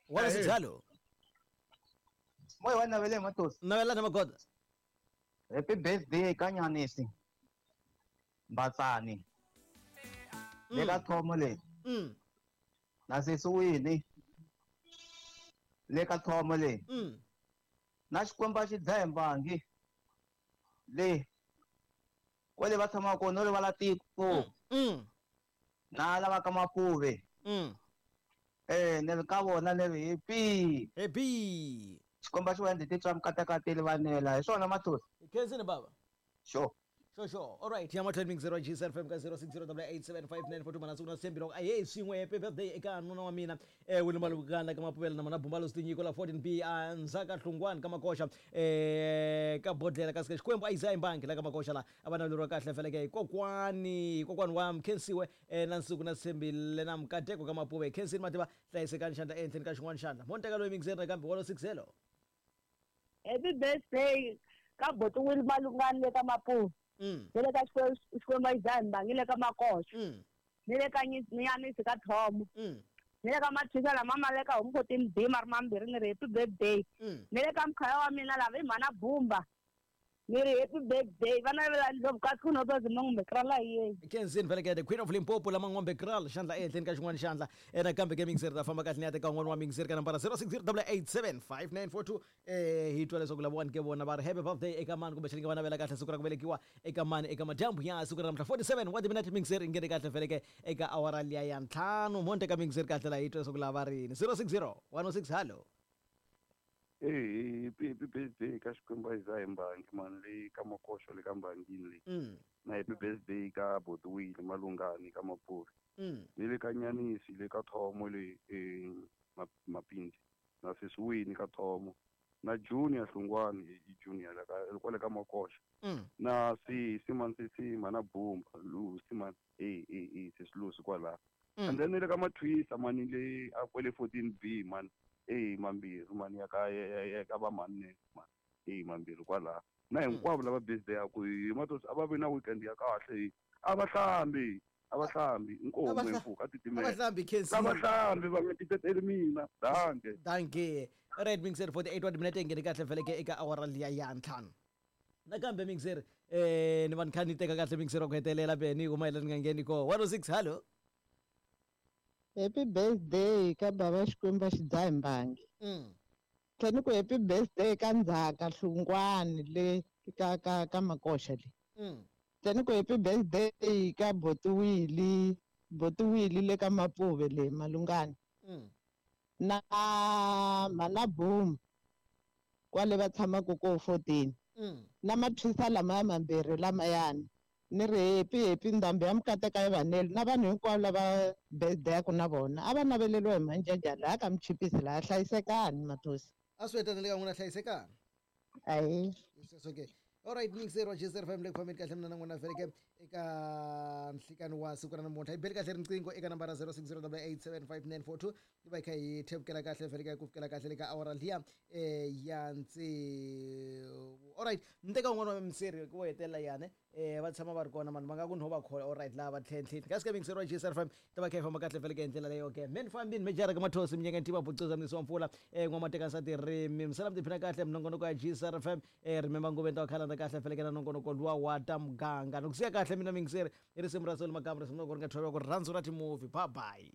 Wala sijalo. Moyo wa navele matosi. Navela na magoda. Happy birthday ka Nyanisi. Mbatsani. Le ka thomo le. Na sesi wini. Le ka thomo le. Na Xikwembu a xi dlaye mbangi. Le. Kwale va tshama kona le va tiko. Na lava ka Mapuve. Ne ri ka vona ne ri happy. Happy. Xikwembu xi va endle titwa mikatekateli vanela hi swona mathosi. Khensini baba. Sure. Sure. All right. Ya matlhelo mix 0 GSFM ka 0608875942 mana sukuna sembi loko aye swin'we happy birthday eka nuna wa mina William Malukana ka Mapuvela na mana Bumbalo Sitinyiko la 14B Nzaka Hlungwani ka Makoxa ka Bodlela ka Xikwembu a Isaiah Mbangi la ka Makoxa la a va naveleriwa kahle feleke kokwani wa Mkhensiwe na Nsuku na Sembile na Mkateko ka Mapuve Khensini Mativa hlayisekani xandla ehenhleni ka xin'wana xandla monteka loyi mixer nakambe 160. Happy birthday ka Boti William Malungani le ka Mapuve. Ni le ka Xikwembu Isaiah Mbangi le ka Makoxa. Ni le ka Nyanisi ka Thomo. Ni le ka Mathisa lama ma le ka Homfoti B ma ri mambirhi ni ri happy birthday. Ni le ka mkhaya wa mina lava i mhana Bumba. Ni ri happy birthday va navela ndlopfu kasi ku no Mangombe Kraal yena. Kenzini vele ke the Queen of Limpopo la Mangombe Kraal xandla ehenhleni ka xin'wana xandla nakambe ke mixer ta famba kahle ni ya teka un'wana wa mixer ka nambara 0608875942 hi twa leswaku lavawani ke vona va ri happy birthday eka mani kumbe xi va navela kahle siku ra ku velekiwa eka mani eka madyambu ya siku ra namuntlha 47 wa timinete mixer yi nghene kahle vele ke eka awara liya ya 5 monte ka mixer kahle la hi twa leswaku lava rini 060 106 hallo. Happy birthday ka Xikwembu Isaiah Mbangi mani le ka Makoxo le ka Mbangini le. Na happy birthday ka Boti Willie Malungani ka Mapuve. Ni le ka Nyanisi le ka Thomo le Mapindi. Na sesi Wini ka Thomo. Na Junior Hlungwani i Junior la ka kwale ka Makoxo. Na sisi man sisi mana Bumba Lucy man sesi Lucy kwala. And then le ka Mathwisa mani le a kwele 14B man. Mambirhi mani ya ka ya ka va mani man mambirhi kwala na hinkwavo lava birthday ya ku hi matosi a va vi na weekend ya kahle a va hlambi inkomu mpfuka titimela a va hlambi Khensi a va hlambi va nga titeteli mina danke right mixer 48 wa timinete ngene kahle vele ke eka awara liya ya 5 nakambe mixer ni va ni kha ni teka kahle mixer wa ku hetelela beni ku mayelana ni nga ngheni ko 106 hallo. Happy birthday ka baba Xikwembu xi dzaha mbangi. Tlhela ku happy birthday ka Ndzhaka Hlungwani le ka ka ka Makoxa le. Tlhela ku happy birthday ka Boti Willie le ka Mapuve le Malungani. Na mana Boom kwale va tshamaka ko 14. Na Mathwisa lama mambirhi lamayani. Ni ri happy ndhambi ya mikateka ya vanele na vanhu hinkwavo lava birthday-aku na vona a va naveleriwa hi manjanja laha ka Mchipisi laha hlayisekani mathosi a swi hetanele ka n'wina hlayisekani ayi sweswo ke alright mixer wa GSFM le ku fambeni kahle mina na n'wina vele ke eka nhlikani wa siku ra namuntlha hi beli kahle riqingho eka nambara 0608875942 yi va hi kha hi thevukela kahle vele ke ku fikela kahle le ka awara liya ya tsevu. Alright ni teka un'wana wa mixer wo hetelela yane va tshama va ri kona mani va nga ku no va khola alright lava tlhentlheni kasi ka mixer wa GSFM ta va kha hi famba kahle vele ke hi ndlela leyo ke men fambini mejara ka mathosi minyaka ntiva bucuza mnisi wa mpfula n'wamateka nsati rimi misala mi tiphina kahle minongonoko ya GSFM remember nguveni ta khala kahle vele ke na nongonoko luwa wa ta muganga ni ku siya kahle mina mixer i risimu ra Soli Magama risimu loko ri nga thoriwa ku rirhandzu ra timovie bye bye.